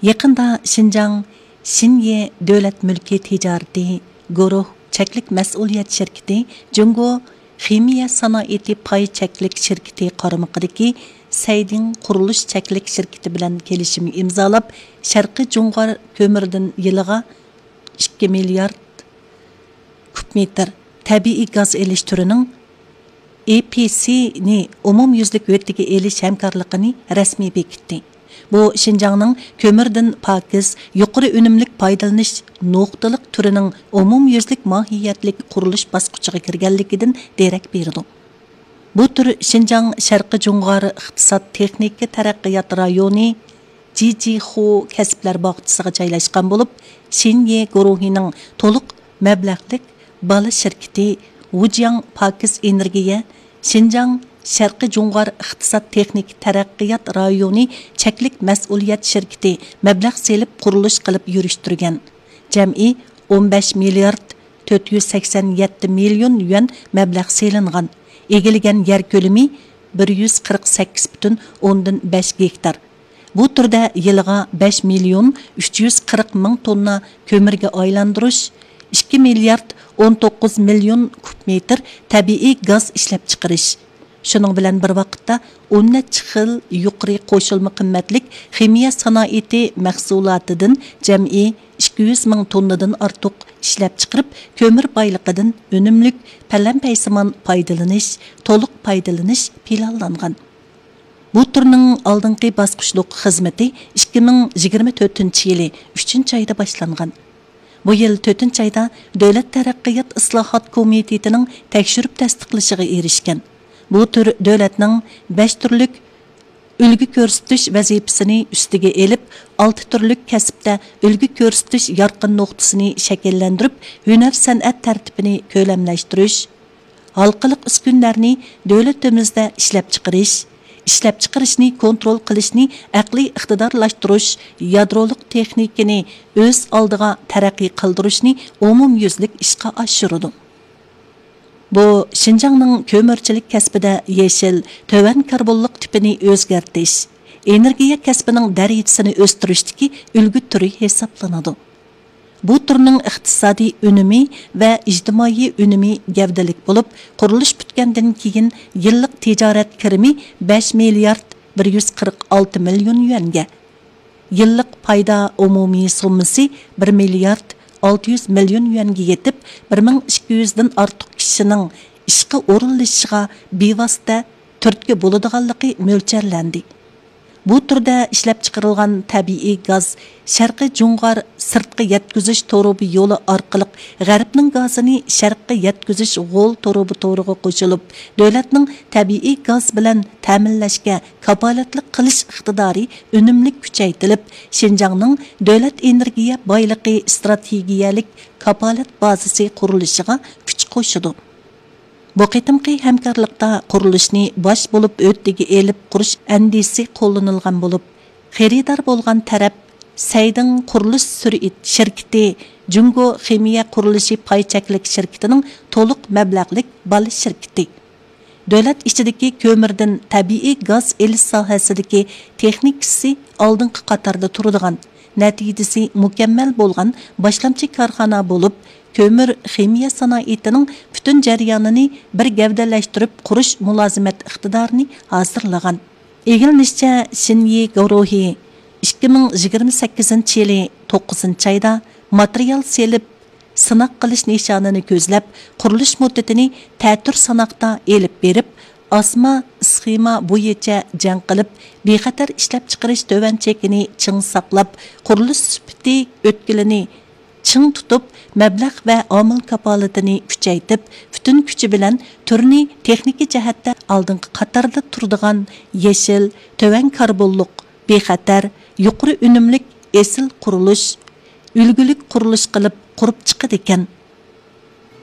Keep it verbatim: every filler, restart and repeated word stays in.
يېقىندا شىنجاڭ شىنيې دۆلەت مۈلكى تىجارىتى گۇرۇھ چەكلىك مەسئۇلىيەت شىركىتى جۇڭگو خىمىيە سانائىتى پاي چەكلىك شىركىتى قارمىقىدىكى سەيدىڭ قۇرۇلۇش چەكلىك شىركىتى بىلەن كېلىشىم ئىمزالاپ، شەرقىي جۇڭغار كۆمۈردىن يىلىغا ئىككى مىليارد كۇب مېتىر تەبىئىي گاز ئېلىش تۈرىنىڭ ئېي پىي سىنى ئومۇميۈزلۈك ھۆددىگە ئېلىش ھەمكارلىقىنى رەسمىي بېكىتتى. بۇ شىنجاڭنىڭ كۆمۈردىن پاكىز، يۇقىرى ئۈنۈملۈك پايدىلىنىش نۇقتىلىق تۈرىنىڭ ئومۇميۈزلۈك ماھىيەتلىك قۇرۇلۇش باسقۇچىغا كىرگەنلىكىدىن دېرەك بېرىدۇ. بۇ تۈر شىنجاڭ شەرقىي جۇڭغار ئىقتىساد تېخنىكا تەرەققىيات رايونى، جىجىخۇ كەسىپلەر باغچىسىغا جايلاشقان بولۇپ، شىنيې گۇرۇھىنىڭ تولۇق مەبلەغلىك بالا شىركىتى ۋۇجياڭ پاكىز ئېنېرگىيە، شىنجاڭ شەرقىي جۇڭغار ئىقتىساد تېخنىكا تەرەققىيات رايونى چەكلىك مەسئۇلىيەت شىركىتى مەبلەغ سېلىپ قۇرۇلۇش قىلىپ يۈرۈشتۈرگەن. جەمئىي ئون بەش مىليارد تۆت يۈز سەكسەن يەتتە مىليون يۈەن مەبلەغ سېلىنغان. ئىگىلىگەن يەر كۆلىمى بىر يۈز قىرىق سەككىز پۈتۈن ئوندىن بەش گېكتار. بۇ تۈردە يىلىغا بەش مىليون ئۈچ يۈز قىرىق مىڭ توننا كۆمۈرگە ئايلاندۇرۇش، ئىككى مىليارد ئون توققۇز مىليون كۇب مېتىر تەبىئىي گاز ئىشلەپچىقىرىش، شۇنىڭ بىلەن بىر ۋاقىتتا، ئون نەچچە خىل يۇقىرى قوشۇلما قىممەتلىك خىمىيە سانائىتى مەھسۇلاتىدىن جەمئىي ئىككى يۈز مىڭ توننىدىن ئارتۇق ئىشلەپچىقىرىپ، كۆمۈر بايلىقىدىن ئۈنۈملۈك، پەلەمپەيسىمان پايدىلىنىش، تولۇق پايدىلىنىش پىلانلانغان. بۇ تۈرنىڭ ئالدىنقى باسقۇچلۇق خىزمىتى ئىككى مىڭ يىگىرمە تۆتىنچى يىلى ئۈچىنچى ئايدا باشلانغان. بۇ يىل تۆتىنچى ئايدا دۆلەت تەرەققىيات ئىسلاھات كومىتېتىنىڭ تەكشۈرۈپ تەستىقلىشىغا ئېرىشكەن. بۇ تۈر دۆلەتنىڭ بەش تۈرلۈك ئۈلگە كۆرسىتىش ۋەزىپىسىنى ئۈستىگە ئېلىپ، ئالتە تۈرلۈك كەسىپتە ئۈلگە كۆرسىتىش يارقىن نۇقتىسىنى شەكىللەندۈرۈپ، ھۈنەر سەنئەت تەرتىپىنى كۆلەملەشتۈرۈش، ھالقىلىق ئۈسكۈنىلەرنى دۆلىتىمىزدە ئىشلەپچىقىرىش، ئىشلەپچىقىرىشنى كونترول قىلىشنى ئەقلىي ئىقتىدارلاشتۇرۇش، يادرولۇق تېخنىكىنى ئۆز ئالدىغا تەرەققىي قىلدۇرۇشنى ئومۇميۈزلۈك ئىشقا ئاشۇرىدۇ. بۇ شىنجاڭنىڭ كۆمۈرچىلىك كەسپىدە يېشىل، تۆۋەن كاربونلۇق تىپىنى ئۆزگەرتىش، ئېنېرگىيە كەسپىنىڭ دەرىجىسىنى ئۆستۈرۈشتىكى ئۈلگە تۈرى ھېسابلىنىدۇ. بۇ تۈرنىڭ ئىقتىسادىي ئۈنۈمى ۋە ئىجتىمائىي ئۈنۈمى گەۋدىلىك بولۇپ، قۇرۇلۇش پۈتكەندىن كېيىن يىللىق تىجارەت كىرىمى بەش مىليارد بىر يۈز قىرىق ئالتە مىليون يۈەنگە، يىللىق پايدا ئومۇمىي سوممىسى بىر مىليارد ئالتە يۈز مىليون يۈەنگە يېتىپ، بىر مىڭ ئىككى يۈزدىن ئارتۇق كىشىنىڭ ئىشقا ئورۇنلىشىشىغا بىۋاسىتە تۈرتكە بولىدىغانلىقى مۆلچەرلەندى. بۇ تۈردە ئىشلەپچىقىرىلغان تەبىئىي گاز شەرقىي جۇڭغار سىرتقا يەتكۈزۈش تۇرۇبا يولى ئارقىلىق غەربنىڭ گازىنى شەرققە يەتكۈزۈش غول تۇرۇبا تورىغا قوشۇلۇپ، دۆلەتنىڭ تەبىئىي گاز بىلەن تەمىنلەشكە كاپالەتلىك قىلىش ئىقتىدارى ئۈنۈملۈك كۈچەيتىلىپ، شىنجاڭنىڭ دۆلەت ئېنېرگىيە بايلىقى ئىستراتېگىيەلىك كاپالەت بازىسى قۇرۇلۇشىغا كۈچ قوشىدۇ. بۇ قېتىمقى ھەمكارلىقتا قۇرۇلۇشنى باش بولۇپ ھۆددىگە ئېلىپ قۇرۇش ئەندىزىسى قوللىنىلغان بولۇپ، خېرىدار بولغان تەرەپ سەيدىڭ قۇرۇلۇش سۈرئىت شىركىتى، جۇڭگو خىمىيە قۇرۇلۇشى پاي چەكلىك شىركىتىنىڭ تولۇق مەبلەغلىك بالا شىركىتى. دۆلەت ئىچىدىكى كۆمۈردىن تەبىئىي گاز ئېلىش ساھەسىدىكى تېخنىكىسى ئالدىنقى قاتاردا تۇرىدىغان، نەتىجىسى مۇكەممەل بولغان باشلامچى كارخانا بولۇپ، كۆمۈر خىمىيە سانائىتىنىڭ پۈتۈن جەريانىنى بىر گەۋدىلەشتۈرۈپ قۇرۇش مۇلازىمەت ئىقتىدارىنى ھازىرلىغان. ئىگىلىنىشىچە، شىنيې گۇرۇھى ئىككى مىڭ يىگىرمە سەككىزىنچى يىلى توققۇزىنچى ئايدا ماتېرىيال سېلىپ، سىناق قىلىش نىشانىنى كۆزلەپ، قۇرۇلۇش مۇددىتىنى تەتۈر ساناقتا ئېلىپ بېرىپ، ئاسما ئىسخېما بويىچە جەڭ قىلىپ، بىخەتەر ئىشلەپچىقىرىش تۆۋەن چېكىنى چىڭ ساقلاپ، قۇرۇلۇش سۈپىتى ئۆتكىلىنى چىڭ تۇتۇپ، مەبلەغ ۋە ئامىل كاپالىتىنى كۈچەيتىپ، پۈتۈن كۈچى بىلەن تۈرنى تېخنىكا جەھەتتە ئالدىنقى قاتاردا تۇرىدىغان يېشىل، تۆۋەن كاربونلۇق، بىخەتەر، يۇقىرى ئۈنۈملۈك ئېسىل قۇرۇلۇش، ئۈلگىلىك قۇرۇلۇش قىلىپ قۇرۇپ چىقىدىكەن.